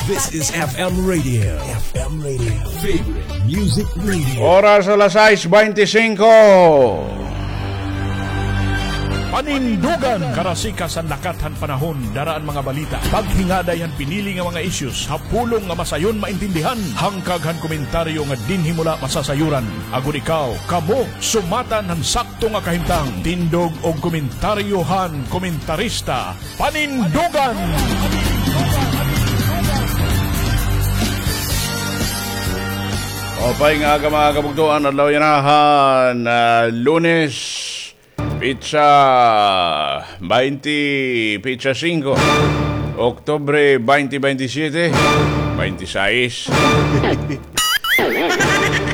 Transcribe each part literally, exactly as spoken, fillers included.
This is F M Radio. F M Radio. Favorite Music Radio. Oras alas sais bente singko. Panindugan, karasikas han lakat han panahon, dara an mga balita, paghingaday han pinili nga mga issues ha pulong nga masayon maintindihan, hangkag han komentaryo nga dinhi mo la masasayuran. Agod ikaw, kamo, sumatan han sakto nga kahimtang. Tindog og komentaryo han komentarista, Panindugan! Maupay nga aga, mga kabugtoan, adlaw yana han, ah, Lunes, petsa baynte, petsa singko, Oktubre baynte baynte siyete, baynte sais.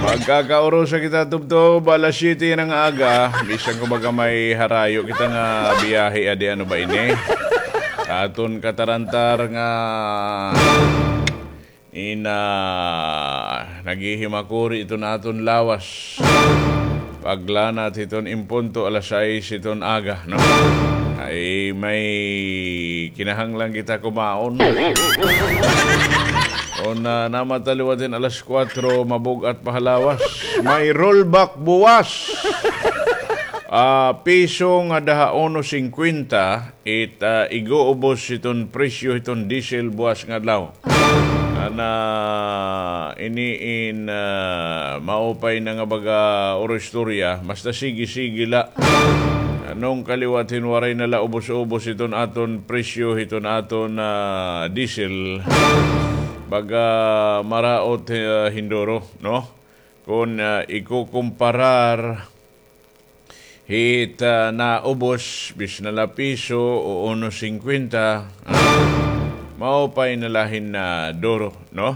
Magkakaurusa kita tubtob alas siyete yana nga aga, bisan kumbaga may harayo kita nga biyahe adi, ano ba ini? Aton katarantar nga ina, naghihimakuri iton aton lawas. Paglanat hiton impunto alas sais hiton aga, no? Ay, may kinahanglan kita kumaon. O na, namata liwat hin alas kuwatro, mabug-at pa ha lawas. May rollback buwas. Ah, piso ngada ha uno singkwenta, it, ah, ig-uubos hiton presyo hiton diesel buwas nga adlaw. Ana, ini in, ah, maupay na nga baga oro istorya, basta sige-sige la. Ngan kaliwat hin waray na la ubos-ubos hiton aton presyo hiton aton, ah, diesel, baga maraot, ah, hin duro, no? Kon, ah, ikukumparar hit, ah, naubos, bisan na la piso o uno singkwenta, ah, maupay na la hin, ah, duro, no?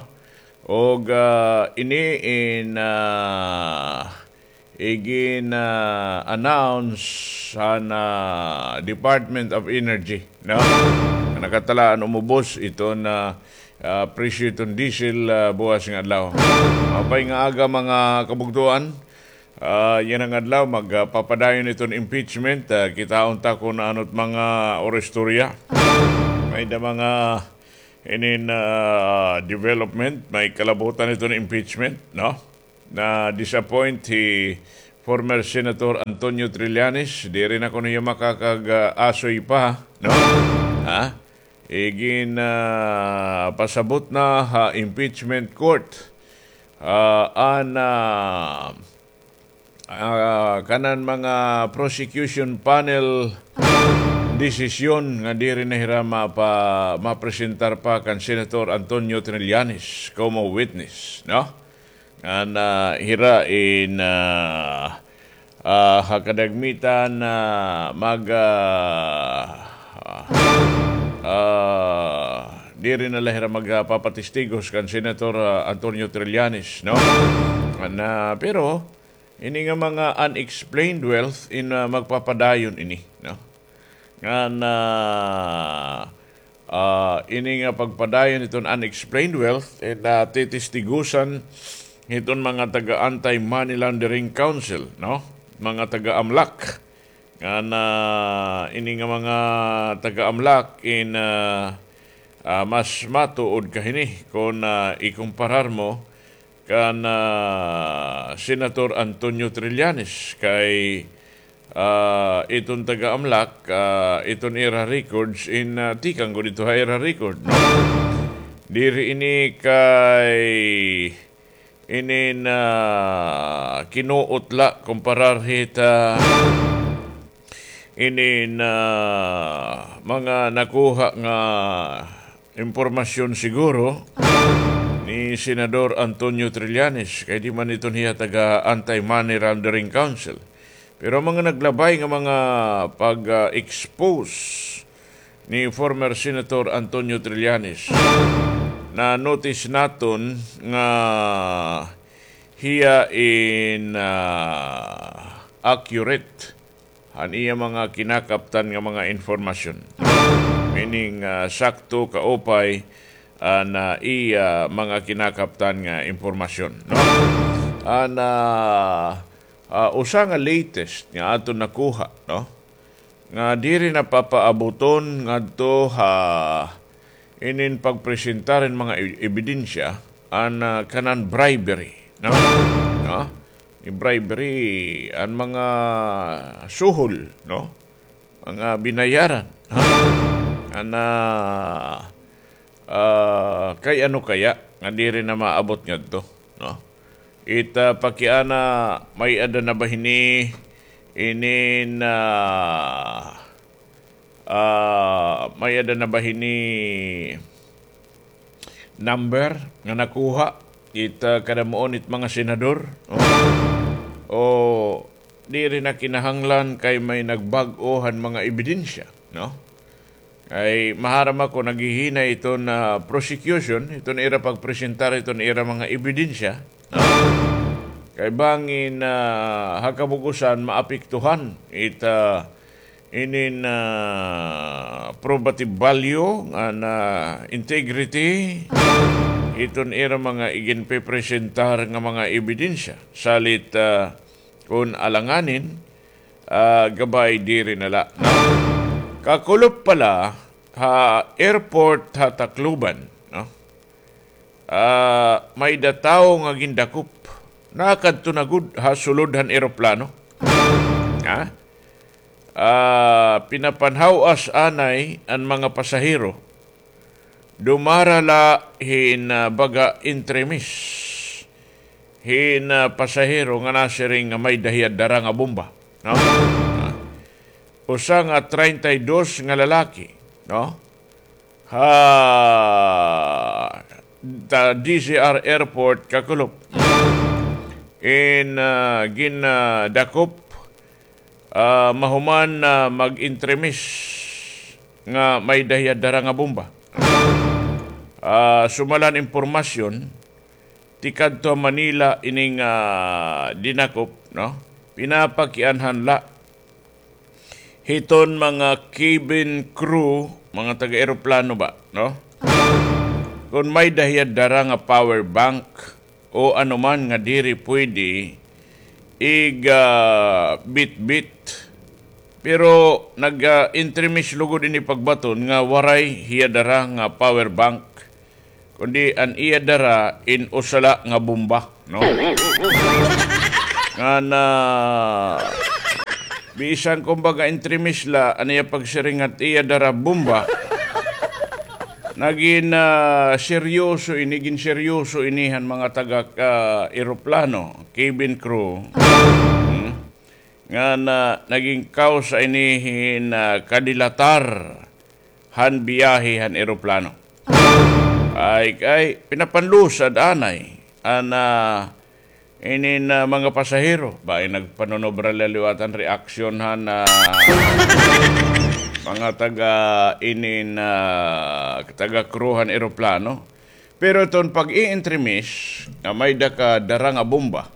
Og, ah, ini in, ah, igin, ah, announce han, ah, Department of Energy, no? Nakatalaan umubos iton, ah, ah, presyo iton diesel, ah, buwas nga adlaw. Maupay nga aga, mga kabugtoan. Ah, yana nga adlaw, magpapadayon iton impeachment. Ah, kitaon ta kon ano it mga oro istorya. May da mga inin, ah, development, may kalabutan iton impeachment, no? Na-disappoint hi former Senator Antonio Trillanes, diri na kuno hiya makakag-, ah, asoy pa, no? Ha? Igin, ah, pasabot na ha impeachment court, ah, an, ah, ah, kanan mga prosecution panel desisyon nga diri na hira mapa-, mapresentar pa kan Senator Antonio Trillanes como witness, no? Ngan, ah, hira in, ah, ah, ha kadagmitan, ah, mag, ah, ah, diri na la hira magpapatistigos kan Senator, ah, Antonio Trillanes, no? Ngan, ah, pero ini nga mga unexplained wealth in, ah, magpapadayon ini, no? Ngan, ah, ah, ini nga pagpadayon hiton unexplained wealth, eh, natitistigusan hiton mga taga Anti-Money Laundering Council, no? Mga taga-AMLAC. Ngan, ah, ini nga mga taga-AMLAC in, ah, ah, mas matuod ka hini kon, ah, ikumparar mo kan, ah, Senator Antonio Trillanes kay, ah, iton taga-AMLAC, ah, iton ira records in, ah, tikang gud ito ha ira record, no? Diri ini kay inin, ah, kinuot la kumparar hit, ah, inin, ah, mga nakuha nga impormasyon siguro ni Senador Antonio Trillanes, kay di man iton hiya taga Anti-Money Laundering Council. Pero mga naglabay nga mga pag, ah, expose ni former Senator Antonio Trillanes, na-notice naton nga hiya in, ah, accurate han iya mga kinakaptan nga mga impormasyon. Meaning, ah, sakto, kaupay an, ah, iya mga kinakaptan nga impormasyon, no? An, ah, ah, usa nga latest nga aton nakuha, no? Nga diri na papaabuton ngadto ha inin pagpresentar hin mga e-, ebidensya, an, ah, kanan bribery, no? No? Ni bribery, an mga suhol, no? Mga binayaran, ha? An, ah, ah, kay ano kaya nga diri na maabot ngadto, no? It, ah, pakiana, may-ada na ba hini, inin, ah, ah, may-ada na ba hini number nga nakuha it, ah, kadamuon it mga senador, no? O diri na kinahanglan kay may nagbag-o han mga ebidensya, no? Kay maharam ako, naghihinay iton, ah, prosecution, iton ira pagpresentar iton ira mga ebidensya, no? Kay bangin, ah, ha kabug-osan maapektuhan it, ah, inin, ah, probative value ngan, ah, integrity iton ira mga iginpepresentar nga mga ebidensya. Salit, ah, kon alanganin, ah, gabay diri na la, no? Kakulop pala ha airport ha Tacloban, no? Ah, may-ada tawo nga gindakop. Nakadto na gud ha sulod han eroplano. Ha? Ah, pinapanhaw-as anay an mga pasahero. Dumara la hin, ah, baga entremis hin, ah, pasahero nga nasiring nga may-ada hiya dara nga bomba, no? Ah, usa nga treinta y dos nga lalaki, no? Ha, ta-, D Z R Airport, Kakulop. In, ah, gin, ah, dakop, ah, mahuman na mag-entremis nga may-ada hiya dara nga bomba. Ah, sumala han impormasyon, tikadto ha Manila ining, ah, dinakop, no? Pinapakianhan la hiton mga cabin crew, mga taga-eroplano ba, no? Kon may-ada hiya dara nga power bank o anuman nga diri pwede ig, ah, bitbit. Pero nag, ah, entremis lugod ini pagbaton nga waray hiya dara nga power bank. Kundi an iya dara in usa la nga bomba, no? Ngan, ah, bisan kumbaga entremis la an iya pagsiring ngan iya dara bomba. Nagin, ah, seryoso ini, ginseryoso ini han mga taga, ah, eroplano, cabin crew. Hmm? Ngan, ah, nagin kawsa ini hin, ah, kadilatar han biyahe han eroplano. Ay, kay pinapanlusad anay an, ah, inin, ah, mga pasahero. Ba, ay nagpanunobra la liwat an reaksyon han, ah, mga taga inin, ah, taga crew han eroplano. Pero iton pag-i-entremis nga may-ada ka dara nga bomba,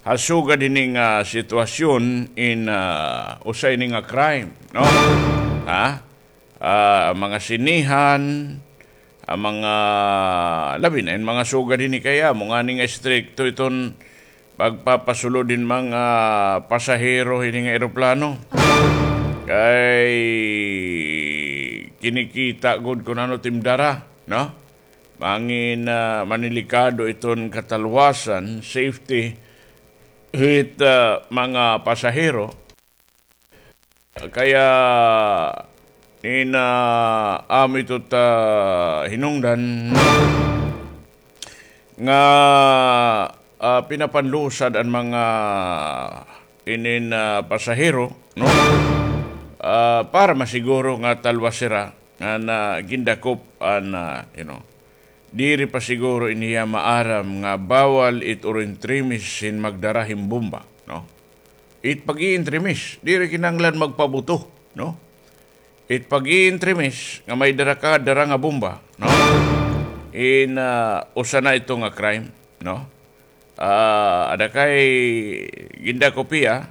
ha sugad hini nga sitwasyon in, ah, usa ini nga crime, no? Ha? Ah, mga sinehan, ah, mga, labi na in mga sugad hini kay amo ngani nga istrikto iton pagpapasulod hin mga pasahero hini nga eroplano. Kay kinikita gud kun ano it im dara, no? Bangin, ah, manilikado iton katalwasan, safety, hit, ah, mga pasahero. Kaya, in, ah, amo ito ta hinungdan nga, ah, pinapanlusad an mga inin, ah, pasahero, no? Ah, para masiguro nga talwas hira nga na gindakop an, ah, you know, diri pa siguro ini hiya maaram nga bawal it uro entremis hin magdara hin bomba, no? It pag-ientremis, diri kinahanglan magpabuto, no? It pag-ientremis nga may dara ka, dara nga bomba, no? In, ah, usa na ito nga crime, no? Ah, ada kay gindakop hiya,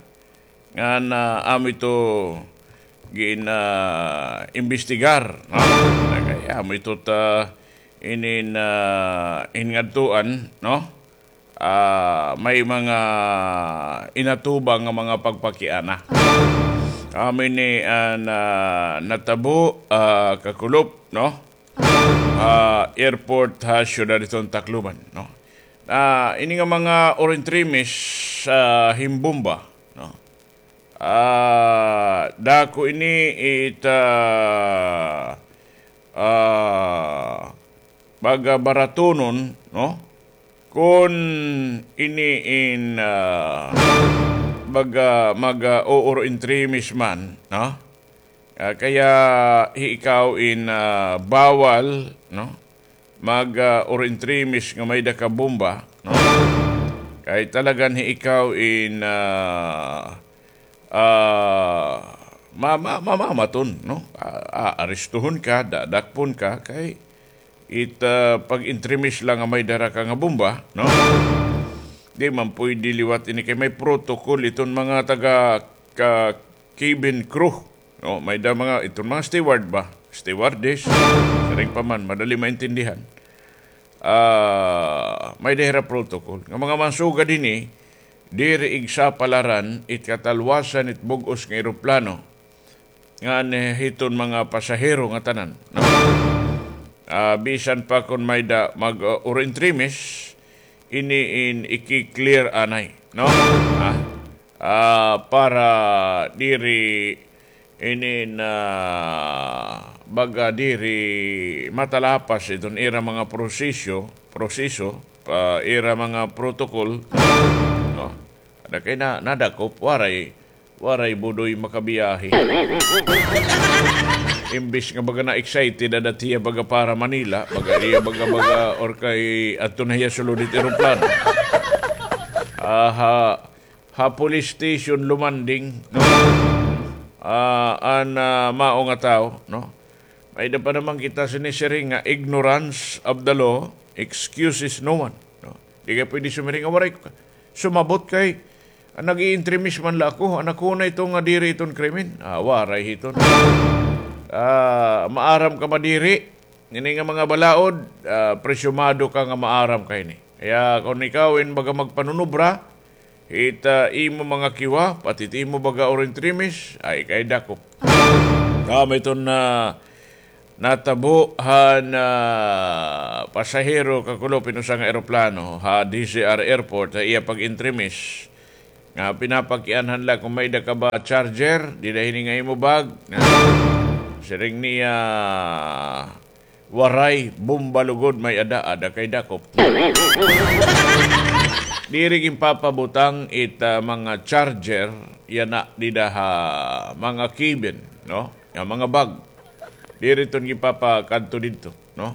ngan, ah, amo ito gin, ah, imbestigar, no? Ada kay amo ito ta inin, ah, in ngadtuan, no? Ah, may mga inatubang nga mga pagpakiana. Amo ini an, ah, natabo, ah, kakulop, no? ah, airport ha siyudad hiton Tacloban, no? Ah, ini nga mga oro-entremis, ah, hin bomba, no? Ah, dako ini it, ah, ah, baga baratonon, no? Kon ini in, ah, baga mag, ah, ooro-entremis man, no? Ah, kaya hi ikaw in, ah, bawal, no? Mag, ah, oro-entremis nga may-ada ka bomba, no? Kay talagan hi ikaw in, ah, ah, ma-, ma-, mamamaton, no? Ah, aarestuhon ka, dadakpon ka, kay it, ah, pag-entremis la nga may dara ka nga bomba, no? Di man pwede liwat ini kay may protocol iton mga taga ka-, cabin crew, no? May da mga, iton mga steward ba? Stewardess. Siring pa man, madali maintindihan. Ah, may da hira protocol. Nga mga mansugad hini, diri igsapalaran it katalwasan it bug-os nga eroplano ngan hiton mga pasahero nga tanan, no? Ah, bisan pa kon may da mag, uh, oro-entremis, ini in iki-clear anay, no? Ah, ah, para diri ini na baga diri matalapas iton ira mga proseso, proseso, pa ira mga protocol, no? Ada kay na, nadakop, waray, waray budoy makabiyahe. Imbis nga baga na-excited, ada tiya baga para Manila, baga iya baga, baga, or kay adto na hiya sulod it eroplano. Aha, ha police station lumanding, no? Ah, an, ah, mao nga tawo, no? May da pa naman kita sinisiring nga ignorance of the law excuses no one, no? Di ka pwede sumiring nga waray ko ka-, sumabot kay, ah, nag-iintremis man la ako, anak ko na ito nga diri iton krimen. Ah, waray hiton. Ah, maaram ka madiri, ini nga mga balaod, ah, presyumado ka nga maaram ka ini. Kaya kon ikaw in baga magpanunubra, hit, ah, imo mga kiwa, pati it imo baga oro-entremis, ay kay dakop. Kami iton na natabo han, ah, pasahero kakulop hin usa nga eroplano ha D Z R Airport ha iya pag-entremis. Nga pinapakianhan la kon may da ka ba charger, dida hini nga imo bag. Siring niya, waray, bomba lugod may-ada, ada kay dakop. Diri ginpapabutang it, ah, mga charger yana dida ha mga cabin, no? Nga mga bag. Diri iton ginpapakadto didto, no?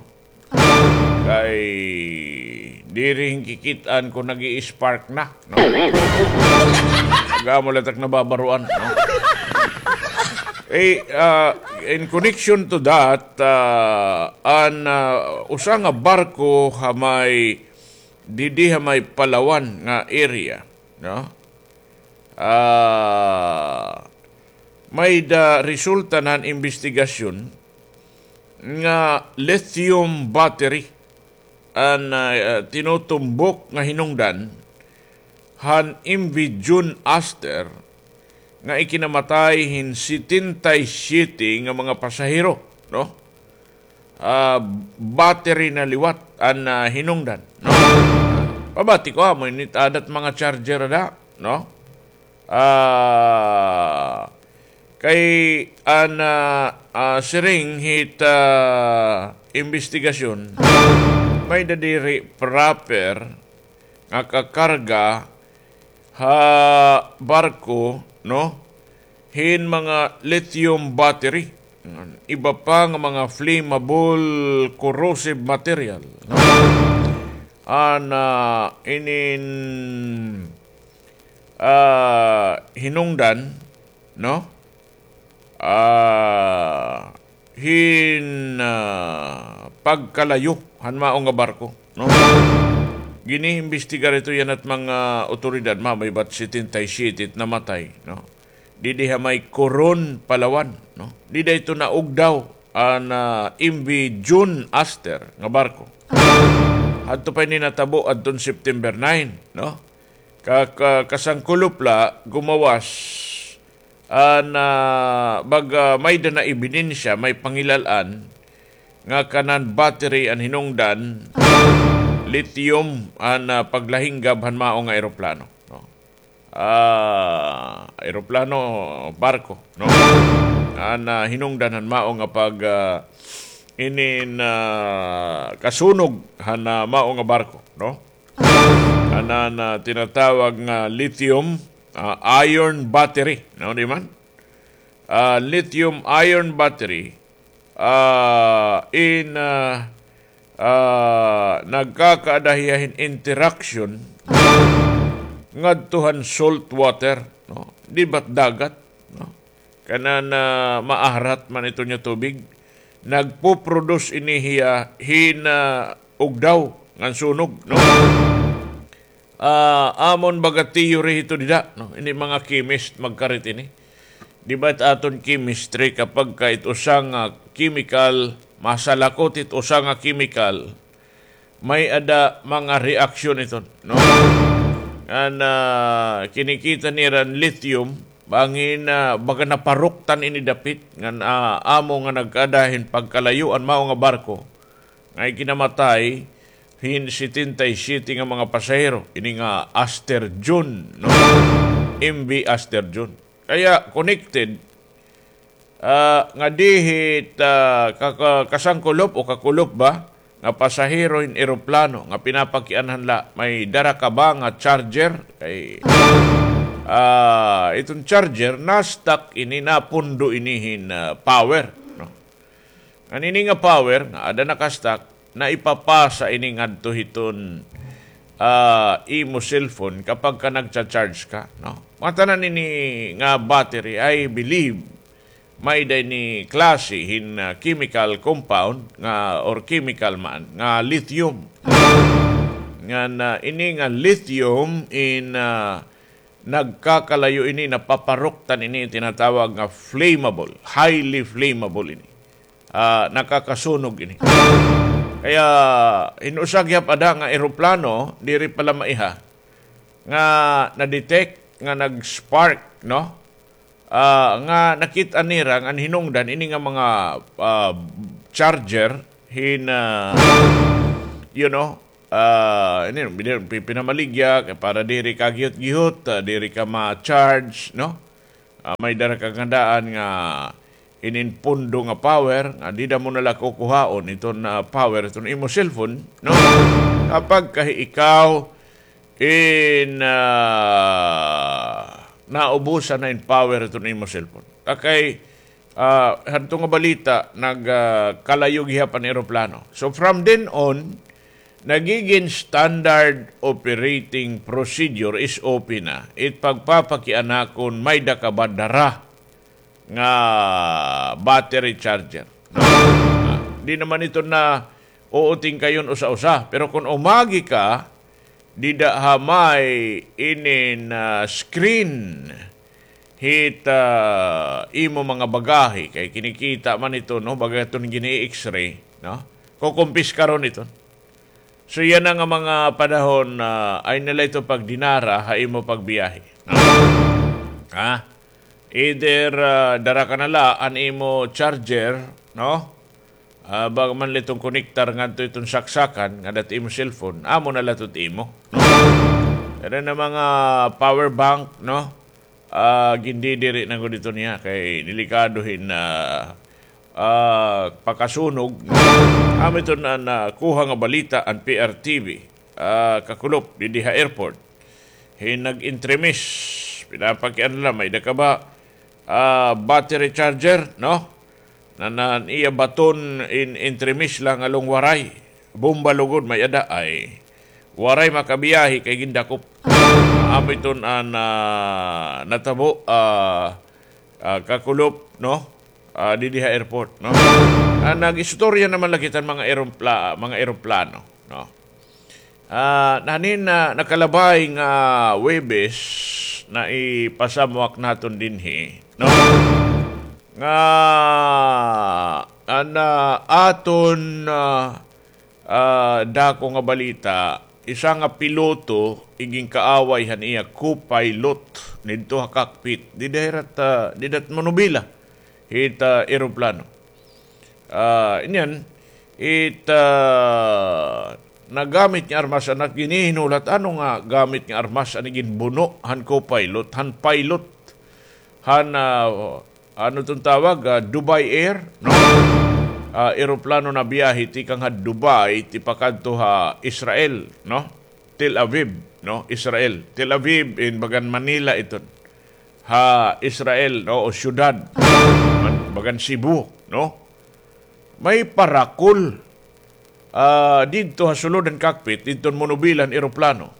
Kay diri hinkikit-an kon nag-i-spark na, no? Amo la tak nababaroan, no? Eh, ah, in connection to that, ah, an, ah, usa nga barko ha may, didi ha may Palawan nga area, no? Ah, may da resulta na han imbestigasyon nga lithium battery an, ah, tinutumbok nga hinungdan han M V June Aster nga ikinamatay hin setenta y siete nga mga pasahero, no? Ah, battery na liwat an, ah, hinungdan, no? Pabati ko, amo ini it ada it mga charger ada, no? Ah, kay an, ah, ah, siring hit, ah, imbestigasyon, may da diri proper nga kakarga ha barko, no? Hin mga lithium battery. Iba pa nga mga flammable corrosive material, no? An, ah, inin, ah, hinungdan, no? Ah, hin, ah, pagkalayo han mao nga barko, no? Giniimbestigar ito yana it mga otoridad, mamay bat setenta y siete it namatay, no? Didi ha may Coron, Palawan, no? Dida ito naugdaw an, ah, M V June Aster nga barko. Hadto pa ini natabo adton September nine, no? Ka-, ka-, kasangkulop la gumawas an, ah, baga may da na ebidensya, may pangilal-an nga kanan battery an hinungdan, lithium an, ah, paglahinggab han mao nga eroplano, no? Ah, eroplano, barko, no? An, ah, hinungdan han mao nga pag, ah, inin, ah, kasunog han, ah, mao nga barko, no? Anan, ah, tinatawag nga lithium, ah, ion battery, no, di man? Ah, lithium ion battery, ah, in, ah, ah, nagkakaada hiya hin interaction ngadto han salt water, no? Di ba't dagat, no? Kanan, ah, maarat man iton nga tubig, nagpo-produce ini hiya hin, ah, ugdaw ngan sunog, no? Ah, amon baga theory hito dida, no? Ini mga chemist magkarit ini. Di ba it aton chemistry, kapag ka it usa nga chemical, masalakot it usa nga chemical, may-ada mga reaksyon iton, no? Ngan, ah, kinikita nira an lithium, bangin, ah, baga naparuktan ini dapit, ngan, ah, amo nga nagkaada hin pagkalayo an mao nga barko, nga ikinamatay hin setenta y siete nga mga pasahero, ini nga Aster Jun, no? M V Aster Jun. Kaya connected, ah, nga dihit, ah, ka-, ka-, kasangkulop o kakulop ba nga pasahero hin eroplano nga pinapakianhan la, may dara ka ba nga charger? Kay, ah, iton charger, na-stuck ini, napundo ini hin, ah, power, no? Ngan ini nga power nga ada naka-stuck, naipapasa ini ngadto hiton, ah, imo cellphone kapag ka nagcha-charge ka, no? Mga tanan ini nga battery, I believe, may-ada ini klase hin, ah, chemical compound nga, or chemical man, nga lithium. Ngan, ah, ini nga lithium in, ah, nagkakalayo ini, napaparuktan ini, tinatawag nga flammable, highly flammable ini. Ah, nakakasunog ini. Kaya hin usa gihap ada nga eroplano, diri pa la maiha, nga na-detect nga nag-spark, no? Ah, nga nakit-an nira nga an hinungdan ini nga mga, ah, charger hin, ah, you know, ah, ini, pi-, pinamaligya kay para diri ka gihot-gihot, ah, diri ka ma-charge, no? Ah, may dara ka nga daan nga inin pundo nga power, nga dida mo na la kukuhaon iton, ah, power iton imo cellphone, no? Kapag ka ikaw in, ah, naubusan na in power iton imo cellphone. Kay, ah, hadto nga balita, nag, ah, kalayo gihap an eroplano. So, from then on, nagigin standard operating procedure, S O P na, it pagpapakiana kon may-ada ka ba dara nga battery charger. Ah, di naman ito na uuting kayon usa-usa. Pero kon umagi ka, dida ha may inin, ah, screen hit, ah, imo mga bagahe, kay kinikita man ito, no, baga iton gini-X-ray, no? Kukumpiskaron ito. So, yana nga mga panahon, ah, ay nila ito pagdinara ha imo pagbiyahe, no? Ha? Either, ah, dara ka na la an imo charger, no? Ah, baga man la iton konektar ngadto iton saksakan nga dida it imo cellphone, amo na la ito it imo, no? Dara na mga power bank, no? Ah, gindidiri na gud ito niya kay delikado hin, ah, ah, pakasunog. Amo iton nakuha nga balita an P R T V, ah, kakulop, didi ha airport. Hin nag-entremis, pinapakiana la, may-ada ka ba, ah, battery charger, no? Nan an iya baton in entremis la ngan waray. Bomba lugod may-ada ay. Waray makabiyahe kay gindakop. Amo iton an, ah, natabo, ah, ah, kakulop, no? Ah, didi ha airport, no? Ah, nag-istorya naman la kita hin mga eropla-, mga eroplano, no? Ah, nanin na nakalabay nga Huwebes na ipasamwak naton dinhi, no? Nga, an, ah, aton, ah, ah, dako nga balita, isa nga piloto, igin kaaway han iya co-pilot, didto ha cockpit, dida hira ta, dida it manobela hit, ah, eroplano. Ah, iniyan, It, ah, nagamit nga armas, an ginhihinulat, ano nga gamit nga armas an iginbuno han co-pilot, han pilot, han, ah, ano iton tawag, ah, Dubai Air, no? Ah, eroplano nabiyahe tikang ha Dubai, tipakadto ha Israel, no? Tel Aviv, no? Israel. Tel Aviv, in bagan Manila iton. Ha Israel, no? O syudad. Man-, bagan Cebu, no? May parakol, ah, didto ha sulod han cockpit, didto han monobila han eroplano.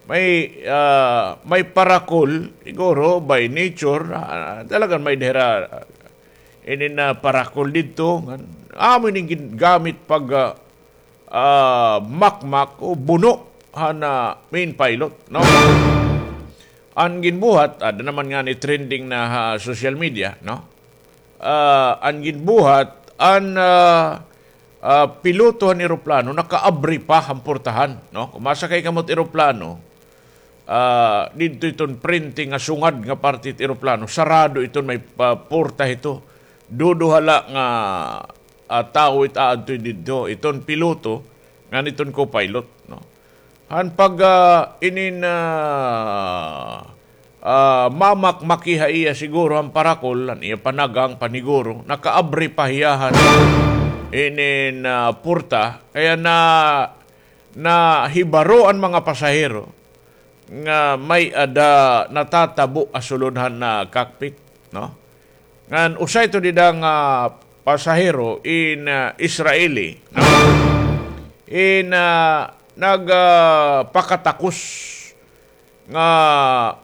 May, ah, may parakol, siguro, by nature, ah, talagan may-ada hira, ah, inin, ah, parakol didto. Ngan, amo ini gin-, gamit pag, ah, ah, makmak o buno han, ah, main pilot, no? An ginbuhat, ada naman ngani trending na ha social media, no? Ah, an ginbuhat, an, ah, ah, piloto han eroplano, nakaabri pa han portahan, no? Kon masakay kamo hit eroplano, ah, didto iton frente nga sungad nga parte hit eroplano, sarado iton may pa-, porta hito. Duduha la nga, ah, tawo it aadto didto, iton piloto, ngan iton co-pilot, no? Han pag, ah, inin, ah, ah, mamakmaki ha iya siguro han parakol, han iya panagang, paniguro, nakaabri pa hiya han inin, ah, porta, kaya na, nahibaro an mga pasahero nga may-ada natatabo ha sulod han, ah, cockpit, no? Ngan usa ito dida nga pasahero in, ah, Israeli, no? In, ah, nag, ah, pakatakos nga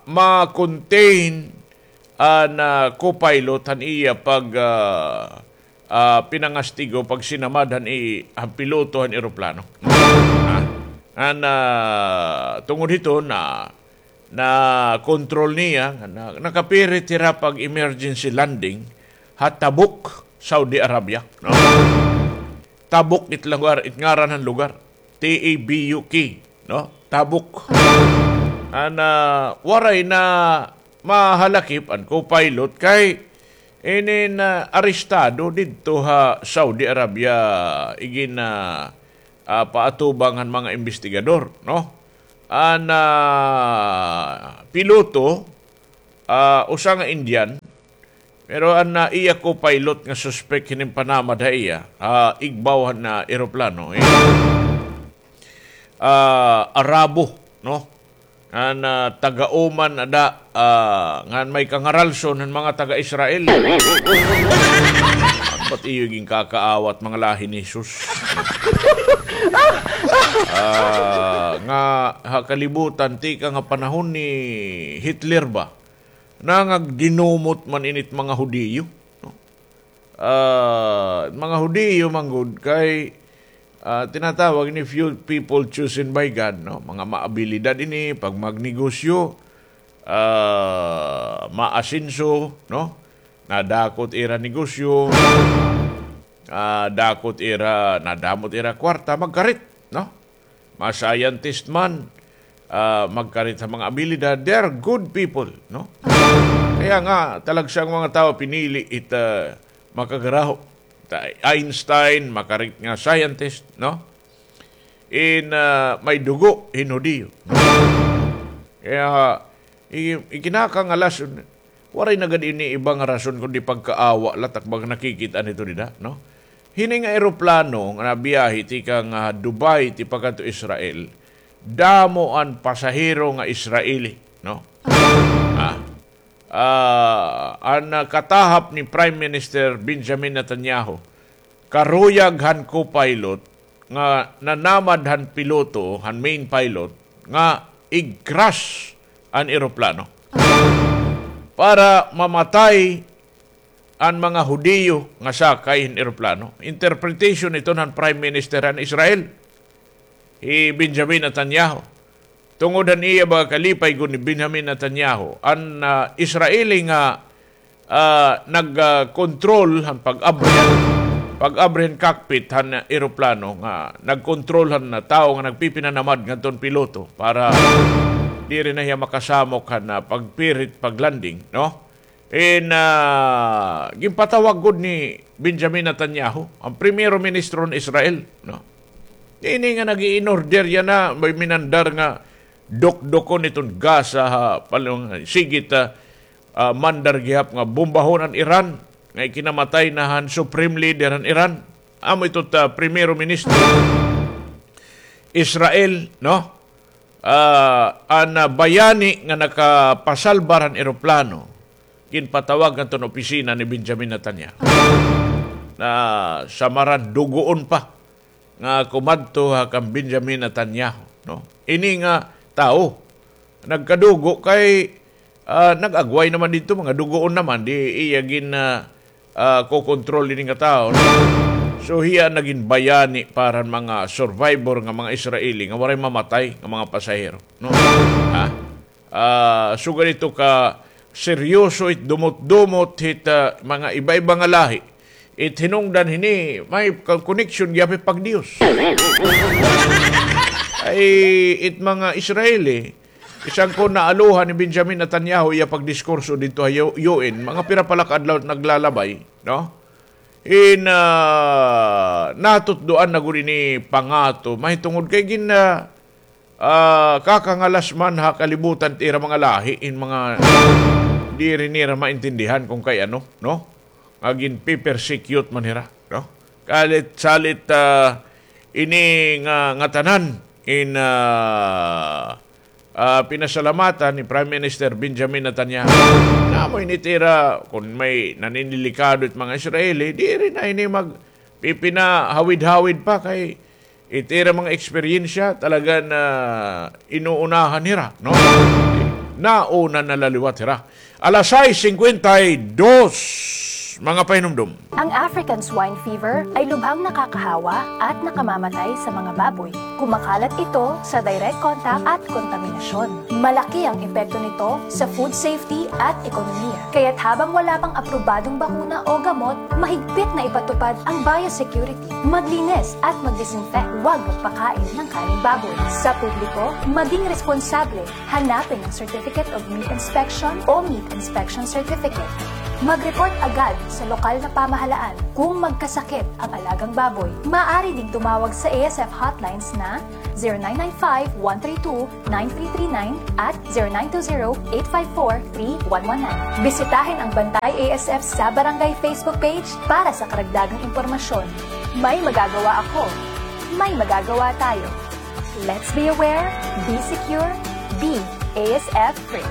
ma-contain an, ah, co-pilot han iya pag, ah, ah, pinangastigo, pagsinamad han i-, han piloto han eroplano. Ah, an, ah, tungod hito na, na-control niya, na, nakapirit hira pag-emergency landing ha Tabuk, Saudi Arabia, no? Tabuk it lugar, it ngaran han lugar. T A B U K, no? Tabuk. An, ah, waray na mahalakip an co-pilot kay inin, ah, arestado didto ha Saudi Arabia, igin, ah, ah, paatubang han mga imbestigador, no? An, ah, piloto, ah, usa nga Indian, pero an, ah, iya co-pilot nga suspek hinin panamad ha iya, ah, igbaw han, ah, eroplano, eh, ah, Arabo, no? Ngan, ah, taga-Oman ada, ah, ngan may kangaralson han mga taga-Israel. Ano ba't iyo ginkakaawat mga lahi ni Jesus? Ah, nga ha kalibutan, tikang ha panahon ni Hitler ba? Nangagdinumot man init mga Hudiyo, no? Ah, mga Hudiyo man gud kay, ah, tinatawag ini few people chosen by God, no? Mga maabilidad ini pag magnegosyo, ah, maasenso, no? Nadakot ira negosyo, ah, dakot ira, nadamot ira kwarta, magkarit, no? Mga scientist man, ah, magkarit ha mga abilidad, they are good people, no? Kaya nga, talagsa an mga tawo pinili it, ah, makagaraho. Ta-, Einstein, makarit nga scientist, no? In, ah, may dugo hin Hudiyo, no? Kaya, i-, ikinakangalason, waray na gad ini iba nga rason kundi pagkaawa la, tak baga nakikit-an ito dida, no? Hini nga eroplano nga nabiyahe tikang, ah, Dubai tipakadto Israel, damo an pasahero nga Israeli, no? Ah, ah, an, ah, katahap ni Prime Minister Benjamin Netanyahu, karuyag han co-pilot nga nanamad han piloto, han main pilot, nga i-crash an eroplano para mamatay an mga Hudiyo nga sakay hin eroplano. Interpretation iton han Prime Minister han Israel, hi Benjamin Netanyahu. Tungod han iya baga kalipay gud ni Benjamin Netanyahu, an, ah, Israeli nga, ah, nag, ah, kontrol han pag-abri, pag-abri han cockpit han eroplano, nga nagkontrol han, ah, tawo nga nagpipinanamad ngadto han piloto para diri na hiya makasamok han, ah, pagpirit pag-landing, no? In, ah, ginpatawag gud ni Benjamin Netanyahu, an primero ministro han Israel, no? Ini nga nag-i-in-order yana, may minandar nga dukdukon iton Gaza ha, palong, sige ta, ah, mandar gihap nga bombahon an Iran, nga ikinamatay na han supreme leader han Iran. Amo ito ta primero ministro Israel, no? Ah, an, ah, bayani nga nakapasalbar han eroplano, ginpatawag ngadto han opisina ni Benjamin Netanyahu. Na samaran dugoon pa nga kumadto ha kan Benjamin Netanyahu, no? Ini nga tawo, nagkadugo kay, ah, nag-agway naman didto, mga dugoon naman, di iya gin, ah, ah, kokontrol ini nga tawo, no? So, hiya nagin bayani para han mga survivor nga mga Israeli nga waray mamatay nga mga pasahero, no? Ha? Ah, sugad ito ka seryoso it dumot-dumot hit, ah, mga iba-iba nga lahi. It hinungdan hini, may ka-, connection gihap it pagdiyos. Ay, it mga Israeli, bisan kon naaluhan ni Benjamin Netanyahu iya pagdiskurso didto ha U-, U N, mga pira pa la ka adlaw naglalabay, no? In, ah, natutdoan na gud ini pangato, mahitungod kay gin, ah, ah, kakangalas man ha kalibutan it ira mga lahi, in mga diri nira maintindihan kon kay ano, no? Nga ginpe-persecute man hira, no? Kalit, salit, ah, ini nga, ngatanan, in, ah, ah, pinasalamatan ni Prime Minister Benjamin Netanyahu. Namo ini it ira, kon may naninilikado it mga Israeli, diri na ini magpipinahawid-hawid pa kay it ira mga eksperyensya talaga na inuunahan hira, no? Nauna na la liwat hira. Alas sais singkwenta y dos, mga pahinumdom. Ang African swine fever ay lubhang nakakahawa at nakamamatay sa mga baboy. Kumakalat ito sa direct contact at kontaminasyon. Malaki ang epekto nito sa food safety at ekonomiya. Kaya't habang wala pang aprobadong bakuna o gamot, mahigpit na ipatupad ang biosecurity. Maglinis at magdisinfect. Huwag magpakain ng karneng baboy. Sa publiko, maging responsable. Hanapin ang Certificate of Meat Inspection o Meat Inspection Certificate. Mag-report agad sa lokal na pamahalaan kung magkasakit ang alagang baboy. Maaari ding tumawag sa A S F hotlines na zero nine nine five, one three two, nine three three nine at zero nine two zero, eight five four, three one one nine. Bisitahin ang Bantay A S F sa Barangay Facebook page para sa karagdagang impormasyon. May magagawa ako. May magagawa tayo. Let's be aware, be secure, be A S F free.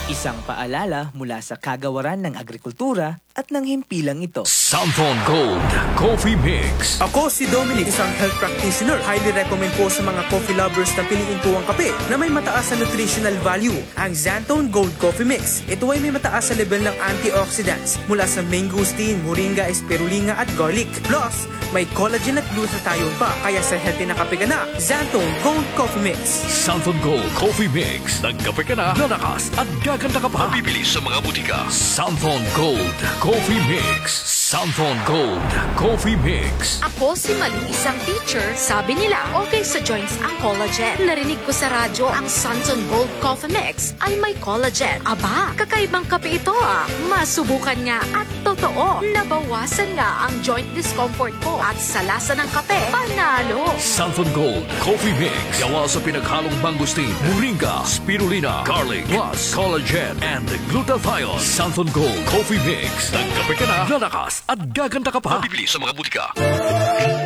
Isang paalala mula sa Kagawaran ng Agrikultura at ng himpilang ito. Santhon Gold Coffee Mix. Ako si Dominic, isang health practitioner. Highly recommend po sa mga coffee lovers na piliin po ang kape na may mataas na nutritional value, ang Xanthone Gold Coffee Mix. Ito ay may mataas na level ng antioxidants mula sa mangosteen, moringa, spirulina at garlic. Plus, may collagen at glutathione pa, kaya sa healthy na kape ka na, Xanthone Gold Coffee Mix. Santhon Gold Coffee Mix. Nagkape ka na, lalakas at gaganda ka pa. Mabibili sa mga butika. Santhon Gold Coffee Mix. Santhon Gold Coffee Mix. Ako si Maling, isang teacher. Sabi nila, okay sa joints ang collagen. Narinig ko sa radyo ang Santhon Gold Coffee Mix ay may collagen. Aba, kakaibang kape ito, ah. Masubukan nga at totoo, nabawasan nga ang joint discomfort ko at sa lasa ng kape, panalo. Santhon Gold Coffee Mix. Gawa sa pinaghalong mangosteen, moringa, spirulina, garlic, plus collagen and glutathione. Santhon Gold Coffee Mix. Nagkape ka na, lalakas at gaganda ka pa. Mabibili sa mga butika.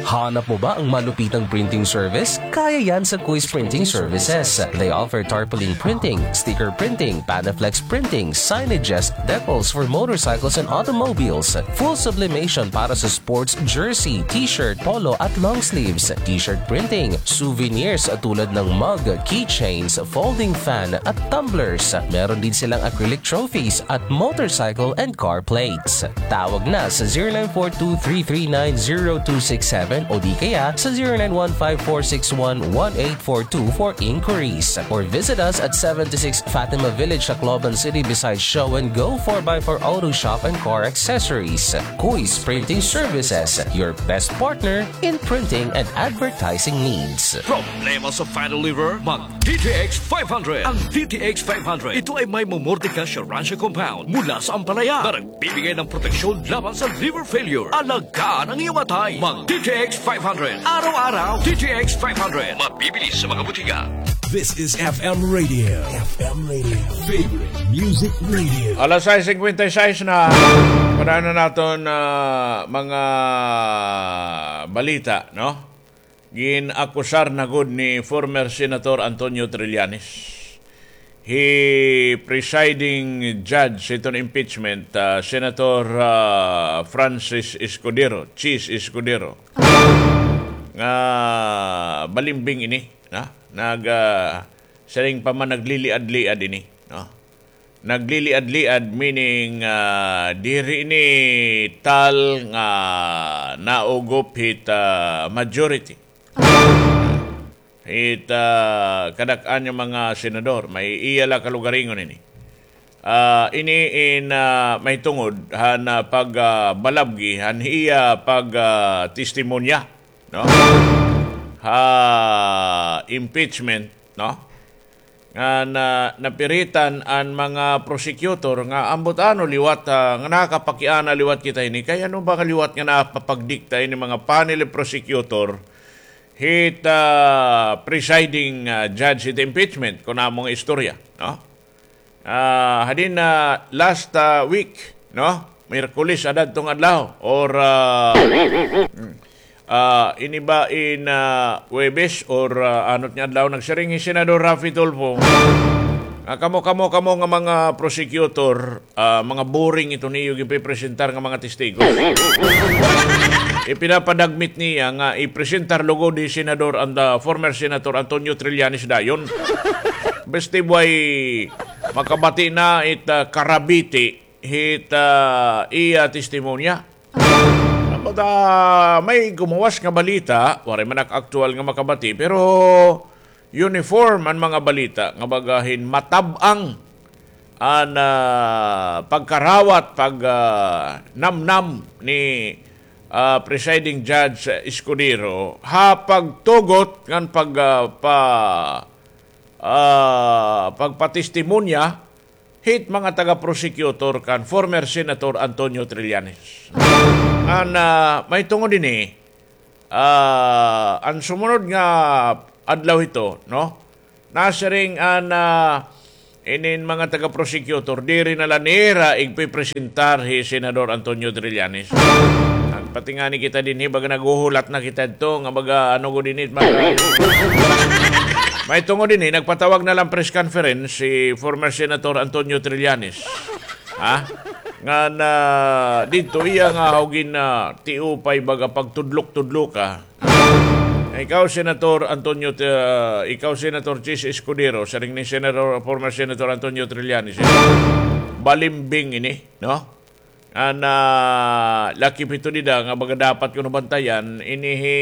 Hanap mo ba ang malupitang printing service? Kaya yan sa Kuis Printing Services. They offer tarpaulin printing, sticker printing, Panaflex printing, signages, decals for motorcycles and automobiles, full sublimation para sa sports jersey, t-shirt, polo at long sleeves, t-shirt printing, souvenirs tulad ng mug, keychains, folding fan at tumblers. Meron din silang acrylic trophies at motorcycle and car plates. Tawag na sa zero nine four two three three nine zero two six seven o di kaya sa zero nine one five four six one one eight four two for inquiries. Or visit us at seventy-six Fatima Village, Tacloban City, beside Show and Go four by four Auto Shop and Car Accessories. Kuis Printing Services, your best partner in printing and advertising needs. Problema sa fan o lever? Mag D T X five hundred. Ang D T X five hundred, ito ay may mamortika siya ransya compound mula sa ampalaya na nagbibigay ng proteksyon laban sa liver failure. Alagaan ang iyong atay. Mag D T X five hundred. Araw-araw, D T X five hundred. Mabibili sa mga butika. This is F M Radio. F M Radio. Favorite Music Radio. Alas sais singkwenta y sais na. Para na naton, ah, mga balita, no? Gin-akusar na gud ni former Senator Antonio Trillanes hi presiding judge hiton impeachment, ah, Senator, ah, Francis Escudero, Chiz Escudero, nga balimbing ini, na? Nag, ah, siring pa man nagliliad-liad ini, no? Nagliliad-liad, meaning, ah, diri ini tal nga naugop hit, ah, majority. Hit, ah, kadak-an nga mga senador, may iya la kalugaringon ini. Ah, ini in, ah, mahitungod han, ah, pag, ah, balabgi han iya pag, ah, testimonya, no? Ha impeachment, no? Nga na, napiritan an mga prosecutor nga ambot ano liwat, ah, nga nakapakiana liwat kita ini. Kay ano ba nga liwat nga napapagdikta ini mga panel prosecutor hit, ah, presiding, ah, judge hit impeachment, kun amo nga istorya, no? Ah, hadin na last, ah, week, no? Miyerkules adto nga adlaw or, ah, mm, ah, ini ba in, ah, Huwebes or, ah, anot nga adlaw, nagsiring hi Senador Raffy Tulfo nga kamo, kamo, kamo nga mga prosecutor, ah, mga boring ito niyo gipipresentar nga mga testigos. Ipinapadagmit niya nga ipresentar lugod hi Senador and, ah, former Senator Antonio Trillanes dayon. Basta way makabati na it, ah, karabiti hit, ah, iya testimonya. Ambot, ah, may gumuwas nga balita, waray man ak aktuwal nga makabati, pero uniform an mga balita nga baga hin matab-ang an, ah, pagkarawat, pag, ah, namnam ni, ah, Presiding Judge Escudero ha pagtugot ngan pag, ah, pa, ah, pagpatestimonya hit mga taga-prosecutor kan former Senator Antonio Trillanes. An, ah, mahitungod ini, ah, an sumunod nga adlaw hito, no? Nasiring an, ah, inin mga taga-prosecutor, diri na la nira igpipresentar hi Senador Antonio Trillanes. Nagpatingani kita dinhi, baga naghuhulat na kita didto, nga baga, ano ko dinhi, baga, mahitungod dinhi, nagpatawag na lang press conference si former Senator Antonio Trillanes. Ha? Nga na, didto iya nga hawgin na tiupay baga pagtudlok-tudloka. Ikaw, Senator Antonio, ah, ikaw, Senator Chiz Escudero, siring ni Senator, former Senator Antonio Trillanes, eh, balimbing ini, no? An, ah, lakip ito dida nga baga dapat kuno bantayan, ini hi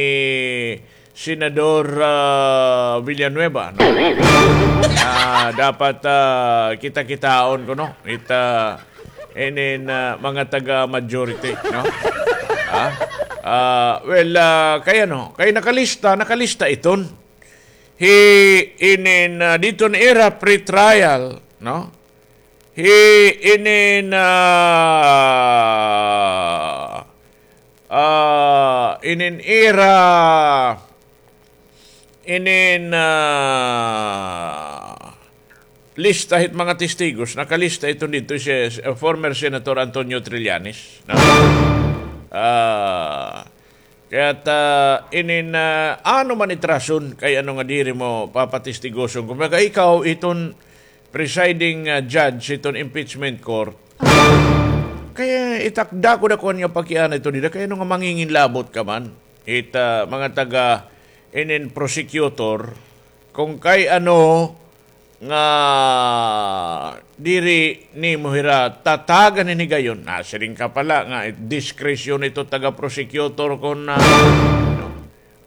Senador, ah, Villanueva, no? Ah, dapat, ah, kita-kitaon kuno, ita, inin, ah, mga taga-majority, no? Ah? Ah, well, ah, kay ano, kay nakalista, nakalista iton. Hi inin, ah, didto nga ira pretrial, no? Hi inin, ah, ah, inin ira, inin, ah, lista hit mga testigos, nakalista iton didto si, si, uh, former Senator Antonio Trillanes, no? Ah, kaya ta, inin, ah, ano man it rason, kay ano nga diri mo papatestigoson. Kumbaga, ikaw, iton presiding, ah, judge, iton impeachment court. Kaya itakda ko na kuan nga pakiana ito dida, kay ano nga manginginlabot ka man. It, ah, mga taga, inin prosecutor, kung kay ano, nga diri nimo hira tatagan hin higayon. Nasiring ka pala nga diskresyon ito taga-prosecutor kon, ah,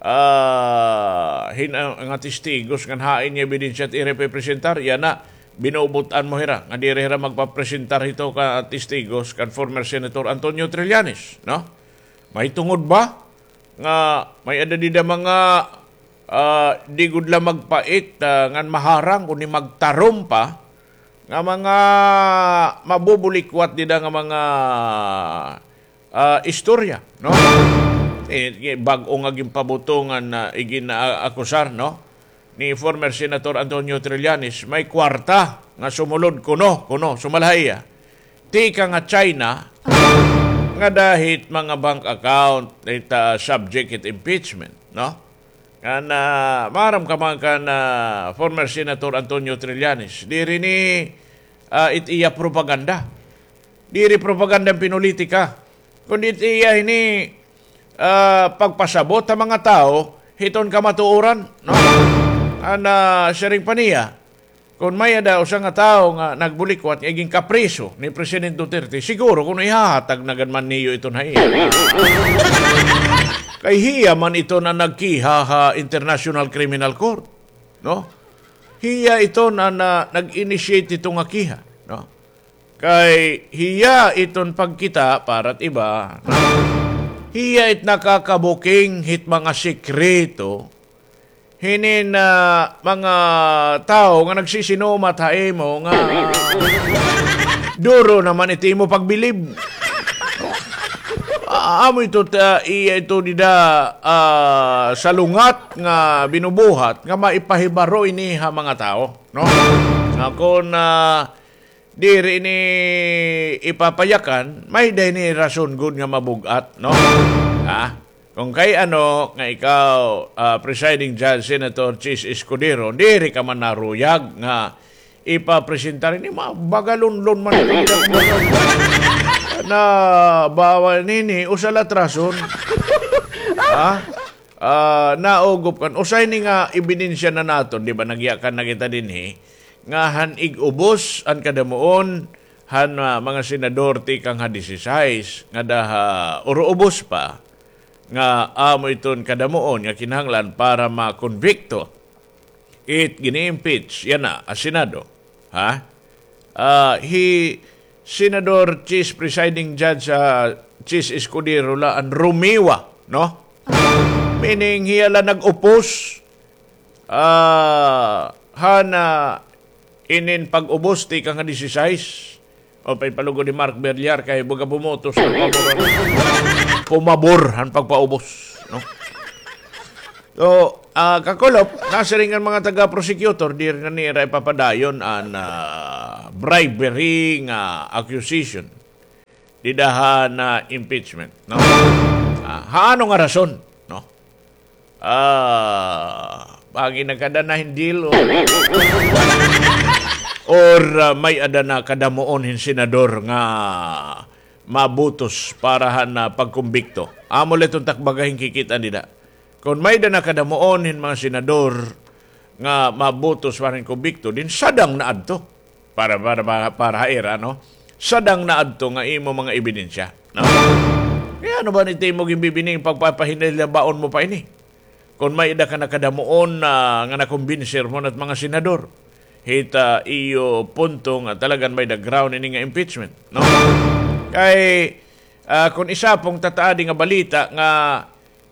ah, hin-, ah, nga testigos ngan hain nga ebidensya it ira ipipresentar, yana, binubut-an mo hira nga diri hira magpapresentar hito ka testigos kan former Senator Antonio Trillanes, no? May tungod ba nga may-ada dida mga, ah, di gud la magpait, ah, ngan maharang kundi magtarom pa nga mga mabubulikwat dida nga mga, ah, istorya, no? Eh, bag-o nga ginpabuto ngan, ah, igin-, ah, akusar, no? Ni former Senator Antonio Trillanes, may kwarta nga sumulod kuno, kuno, sumala ha iya tikang ha China, ngada hit mga bank account, it, ah, subject hit impeachment, no? Ngan, ah, maaram ka man kan, ah, former Senator Antonio Trillanes, diri ini, ah, it iya propaganda. Diri propaganda an pinulitika. Kundi it iya ini, ah, pagpasabot ha mga tawo hiton kamatuoran, no? An, ah, siring pa niya, kon may-ada usa nga tawo nga nagbulikwat nga igin kapriso ni Presidente Duterte, siguro kuno ihahatag na gad man niyo iton ha iya. Kay hiya man iton an nagkiha ha International Criminal Court, no? Hiya iton an, ah, nag-initiate hito nga kiha, no? Kay hiya iton pagkita para it iba, no? Hiya it nakakabuking hit mga sekreto hinin, ah, mga tawo nga nagsisinumat ha imo nga duro naman it imo pagbilib. Ah, amo ito, ah, iya ito dida, ah, salungat nga binubuhat nga maipahibaro ini ha mga tawo, no? Nga kon, ah, diri ini ipapayakan, may-ada ini rason gud nga mabug-at, no? Ha? Kon kay ano nga ikaw, ah, presiding judge, Senator Chiz Escudero, diri ka man naruyag nga ipapresentar ini, mabagalonlon man ito. Na bawal nini, usa la it rason. Ha? Ah, naugop kan, usa ini nga ebidensya na naton, di ba, nagyakan na kita dinhi, nga han ig-ubos an kadamuon han, ah, mga senador tikang ha disisais, ngada ha uro-ubos pa, nga amo iton kadamuon nga kinahanglan para makonbikto it gini-impeach yana ha Senado. Ha? Ah, hi Senador Chiz, Presiding Judge, ah, Chiz Escudero la an rumiwa, no? Meaning, hiya la nag-oppose, ah, han inin pag-ubos tikang ha disisais. O, pay palugod ni Mark Villar kay baga bumutos han pabor, pumabor han pagpaubos, no? So, ah, kakulop, nasiring an mga taga-prosecutor, diri na nira ipapadayon an, ah, bribery nga accusation dida han impeachment, no? Ah, ha ano nga rason, no? Ah, bangin nakada na hin deal o, or, ah, may-ada na kadamuon hin senador nga mabutos para han, ah, pagkumbikto. Amo la iton tak baga hin kikit-an dida. Kon may-ada na kadamuon hin mga senador nga mabutos para hin kumbikto, din sadang na adto. Para, para, para, para ha ira, no? Sadang na adto nga imo mga ebidensya, no? Kay ano ba ini imo ginbibining pagpapahinay la baon mo pa ini? Kon may-ada ka na kadamuon na nga nakumbinsir mo na it mga senador hit, ah, iyo punto nga talagan may-ada ground ini nga impeachment, no? Kay, ah, kon isapong ta it adi nga balita nga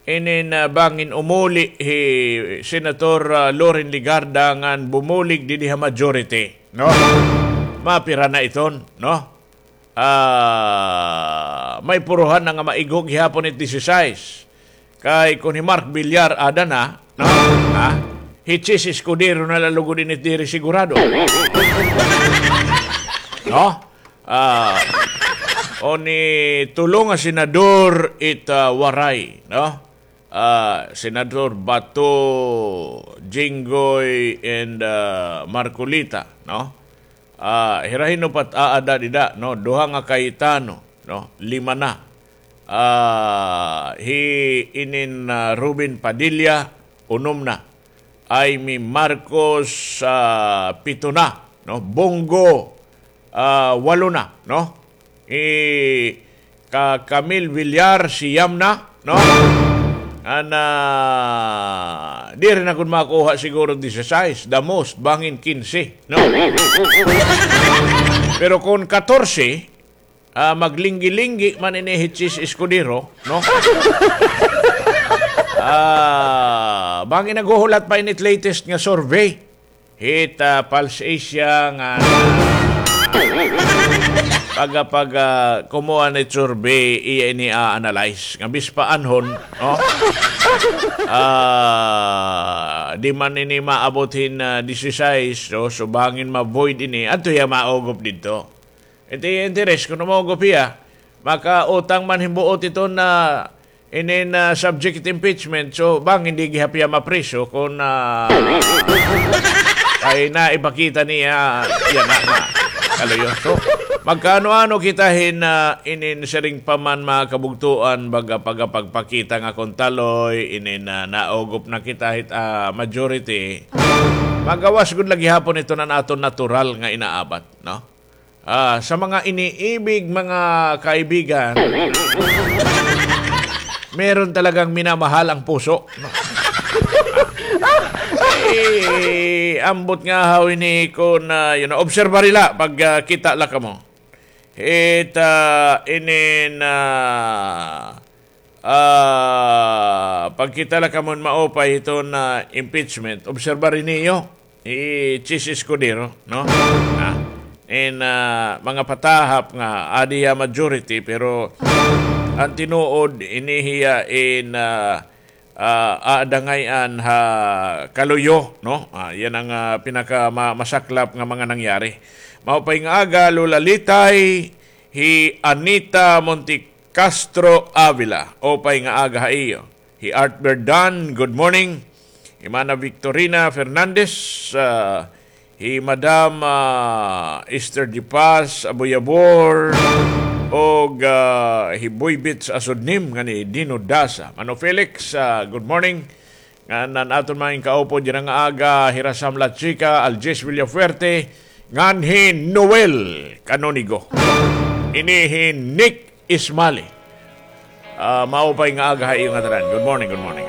inin, ah, bangin umuli hi Senator, ah, Loren Legarda ngan bumulig didi ha majority, no? Mapira na iton, no? Ah, may puruhan na nga maigo gihapon it disisais. Kay kon hi Mark Villar ada na, no? Ha? Hi Chiz Escudero na la lugod ini diri sigurado. No? Ah, o ni tulo nga senador it, ah, Waray, no? Ah, Senador Bato, Jinggoy, and, ah, Marcoleta, no? Ah, hira hin-o pa it aada dida, no? Duha nga Cayetano, no? Lima na. Ah, hi inin, ah, Robin Padilla, unom na. Imee Marcos, ah, pito na, no? Bong Go, ah, walo na, no? I ka Camille Villar, siyam na, no? An, ah, diri na gud makuha siguro disisais, the most, bangin kinse, no? Pero kon katorse, ah, maglinggi-linggi man ini hi Chiz Escudero, no? Ah, bangin naghuhulat pa ini it latest nga survey hit, ah, Pulse Asia nga pag, pag, ah, kumuha ni survey, iya ini a-analyze nga bispaanhon, no? Ah, di man ini maabot hin, ah, disisais, so, so bangin ma-void ini, adto hiya maugop didto. Iti interes, kun umugop hiya, makautang man hin buot iton inin, ah, subject hit impeachment. So, bangin di gihap hiya mapriso kun, ah, kay naipakita niya, yana nga kaluyo. So, magkaano-ano kita hin, ah, inin siring pa man, mga kabugtoan, baga pagpakita nga kon taloy, inin, ah, naugop na kita hit, ah, majority. Magawas gud la gihapon iton an aton natural nga inaabat, no? Ah, sa mga iniibig, mga kaibigan, meron talagang minamahal ang puso, no? Eh, ambot nga haw ini kun, ah, you know, obserbar la pag, ah, kita la kamo. It, ah, inin, ah, Ah, pagkita la kamo hin maupay hiton impeachment, obserbar niyo hi Chiz Escudero, no? Ah, in, ah, mga patahap nga adi hiya majority, pero an tinuod, ini hiya in, ah, ah, aadangay-an ha kaluyo, no? Ah, yana an, ah, pinaka ma-, masaklap nga mga nangyari. Maupay nga aga, Lola Litay, hi Anita Monte Castro Avila, upay nga aga ha iyo. Hi Art Berdan, good morning. Hi Mana Victorina Fernandez, ah, hi Madam, ah, Esther Di Paz Aboyabor, og, ah, hi Boy Bits Asudnim, ngan hi Dino Dasa. Mano Felix, ah, good morning. Ngan an aton mga inkaupod dira nga aga, hi Rasam La Chica, Algis Villafuerte, ngan hi Noel Canonigo. Ini hi Nick Ismali. Ah, maupay nga aga ha iyo ngatanan. Good morning, good morning.